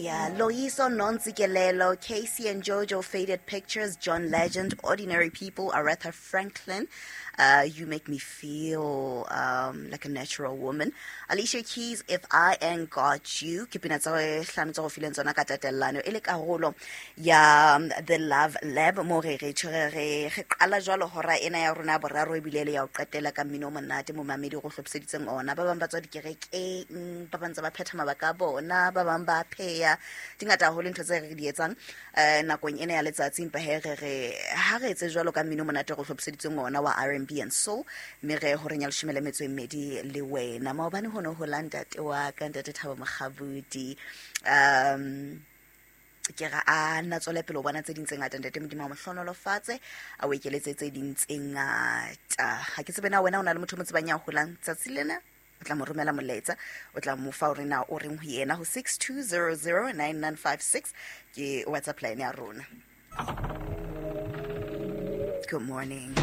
Hallelujah. Loiso Nontsikelelo, Casey and Jojo, Faded Pictures, John Legend, Ordinary People, Aretha Franklin. You Make Me Feel Like a Natural Woman. Alicia Keys, If I Ain't Got You. Ke pina tsa hlano tsa go fileng tsona ka tatellano e le karolo ya The Love Lab mo re re tshwere re re qala jwalo hora ena ya rona ya boraro ebile le ya ho qetela ka mmino o monate momamedi go hlophiseditseng ona. Ba bang ba tswa dikerekeng, ba bang tsa ba phetha mabaka a bona, ba bang ba pheya. Di ngata haholo ntho tse re di etsang nakong ena ya letsatsi, empa he re re ha re etse jwalo ka mmino o monate go hlophiseditseng ona wa R&B and soul, mme re horeng ya leshome le metso e mmedi le wena. Maobane ho ne ho la ntate wa ka, ntate Thabo Mokgabudi. Ke ra a nna tswele pele o bona tse ding tse ngata, ntate Modimo a mo hlohonolofatse, a o ekeletse tse ding tse ngata. Ha ke tsebe na wena o na le motho o mo tsebang ya holang tsatsi lena, o tla mo romela molaetsa, o tla mo fa hore na o reng ho yena ho 62009956 ke WhatsApp line ya rona. Good morning.